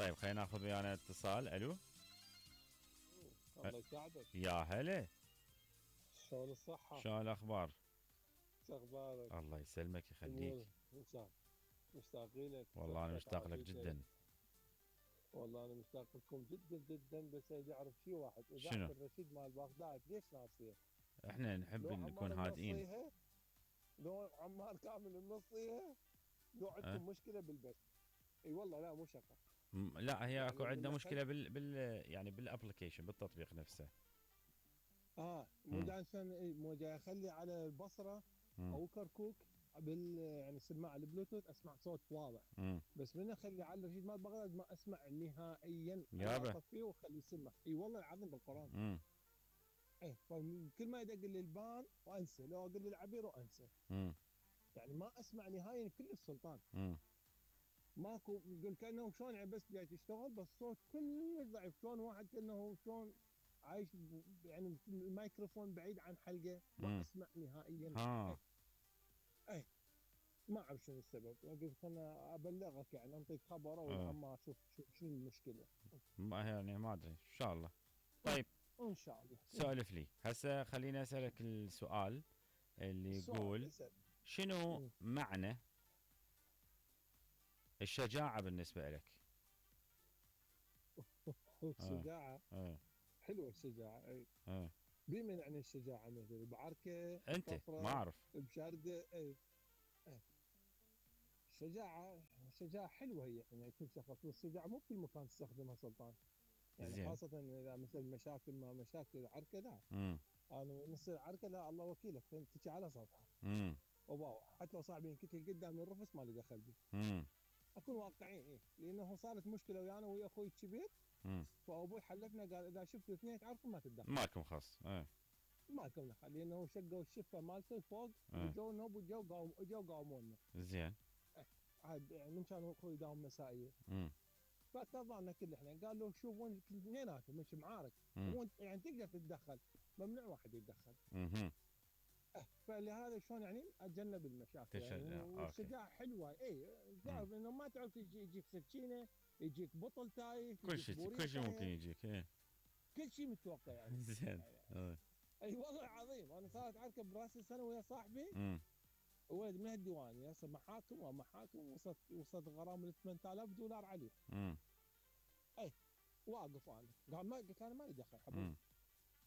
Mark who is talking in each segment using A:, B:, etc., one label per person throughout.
A: طيب خلينا ناخذ ويانا اتصال. الو.
B: الله يساعدك.
A: يا هلا.
B: شلون الصحة؟
A: شلون الاخبار؟
B: شو اخبارك؟
A: الله يسلمك يخليك.
B: مشتاقين لك.
A: والله انا
B: صحتك
A: مشتاق لك
B: عافيتك.
A: جدا.
B: والله انا مشتاق لكم جدا جدا، بس اريد اعرف شيء واحد، اذاعة
A: شنو؟
B: الرشيد مال بغداد ليش ناسيه؟
A: احنا نحب
B: لو
A: نكون
B: عمار
A: هادئين.
B: منصيها؟ لو عمار كامل منصيها؟ لو
A: أه؟
B: عندكم مشكلة بالبث؟ اي والله لا مو شقة.
A: لا هي اكو
B: يعني
A: عندنا
B: من
A: مشكله يعني بالابلكيشن بالتطبيق نفسه.
B: مو جاي مو جاي اخلي على البصرة
A: مم.
B: او كركوك يعني سماعه البلوتوث اسمع صوت واضح.
A: مم.
B: بس من اخلي على الرشيد مال بغداد ما اسمع نهائيا.
A: يابا.
B: اطفيه واخليه يسمع. اي والله العظيم بالقران.
A: مم.
B: فكل ما يدق لي البان وانسى، لو اقول لي العبير وانسى.
A: مم.
B: يعني ما اسمع نهائيا كل السلطان.
A: مم.
B: ماكو يقول كانه شلون يعني بس جاي تشتغل بس صوت كلش ضعيف، شلون واحد كانه شلون عايش يعني الميكروفون بعيد عن حلقه، ما اسمع نهائيا.
A: ها.
B: اي ما اعرف شنو السبب، قلت انا ابلغك يعني انطيك خبر والعمار اشوف شنو المشكله.
A: ما يعني ما ادري ان شاء الله. طيب
B: ان شاء الله.
A: سولف لي هسه، خليني اسالك السؤال اللي يقول شنو معنى الشجاعه بالنسبه لك؟
B: الشجاعه حلوه الشجاعه. اي بمن يعني الشجاعه مثل بعركه
A: انت ما اعرف
B: بشارده. اي الشجاعه حلوه هي يعني كل شخص، والشجاعه مو بكل مكان تستخدمها سلطان. يعني زين. خاصه اذا مثل مشاكل ما مشاكل عركه لا. انا نصير عركه لا الله وكيلك تجي على سطحها. وباو حتى لو صاحبي ينقتل قدام الرفس ما لي دخل بي. اكون واقعيين. لانه صارت مشكله ويانا ويا اخوي الكبير. فابوي حلفنا قال اذا شفتوا اثنين تعرفوا ما تتدخل.
A: مالكم خاص.
B: مالكم دخل، لانه شقوا الشفه مالته فوق وجو نوب وجو قاومونا.
A: زين.
B: عاد يعني من كانوا اخوي يداوم مسائيه. فتظلنا كل احنا قال له شوف وين اثنيناتهم مش معارك. يعني تقدر تتدخل، ممنوع واحد يتدخل. فلهذا شلون يعني اتجنب المشاكل يعني. والشجاعه حلوه. تعرف انه ما تعرف يجيك سكينه، يجيك بطل تايف،
A: كل شيء ممكن يجيك.
B: كل شيء متوقع يعني.
A: زين.
B: اي والله العظيم انا صارت عركه براس السنه ويا صاحبي. ولد من الديوانيه هسه محاكم ومحاكم، وصلت غرامه $8000 عليه. واقف انا قال ما قلت انا مالي دخل حبيبي.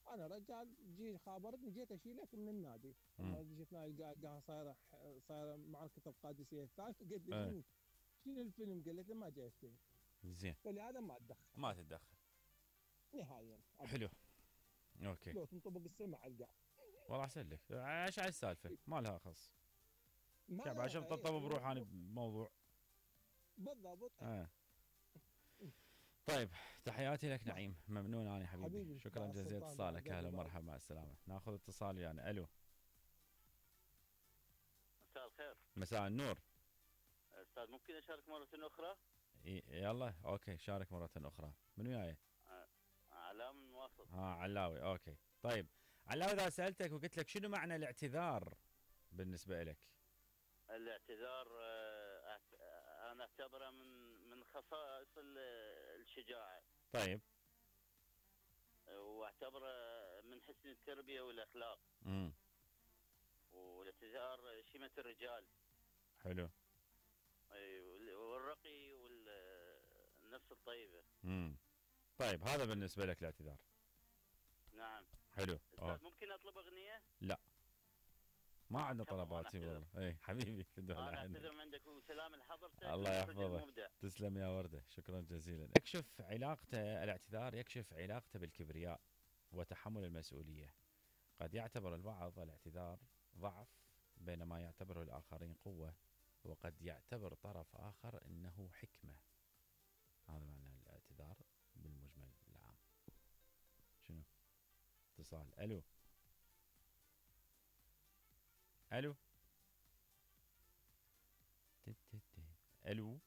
B: انا رجال جي خابرتني جيت اشيلك من النادي. لما جيت نادي صايره معركه القادسيه الثالثه. قلت لي شنو الفيلم؟ قلت له ما جاي الفيلم.
A: زين.
B: فلهذا ما اتدخل.
A: ما تتدخل
B: نهائيا.
A: حلو. اوكي.
B: لو تنطبق السمع على القاع.
A: والله احسن لك. ايش على السالفه؟ ما لها خص. شوف عشان طبطب بروح انا بموضوع.
B: بالضبط.
A: طيب تحياتي لك نعيم، ممنون انا حبيبي. شكرا جزيلا اتصالك. اهلا ومرحبا مع السلامه. ناخذ اتصال يعني. الو.
C: مساء الخير.
A: مساء النور.
C: استاذ ممكن اشارك مره اخرى؟
A: يلا اوكي شارك مره اخرى. من وياي؟
C: علاء من واسط.
A: علاوي. اوكي طيب علاوي، اذا سالتك وقلت لك شنو معنى الاعتذار بالنسبه لك؟
C: الاعتذار انا اعتبره من خصائص الشجاعه.
A: طيب.
C: واعتبره من حسن التربيه والاخلاق. والاعتذار شيمه الرجال.
A: حلو.
C: والرقي والنفس الطيبه.
A: طيب هذا بالنسبه لك الاعتذار.
C: نعم.
A: حلو.
C: ممكن اطلب اغنيه؟
A: لا ما عندنا طلبات والله. اي حبيبي
C: انا اعتذر من عندك وسلام لحضرتك.
A: الله يحفظك. تسلم يا ورده. شكرا جزيلا. يكشف علاقته الاعتذار يكشف علاقته بالكبرياء وتحمل المسؤوليه. قد يعتبر البعض الاعتذار ضعف بينما يعتبره الاخرين قوه، وقد يعتبر طرف اخر انه حكمه. هذا معنى الاعتذار بالمجمل العام. شنو؟ اتصال. الو. الو. الو.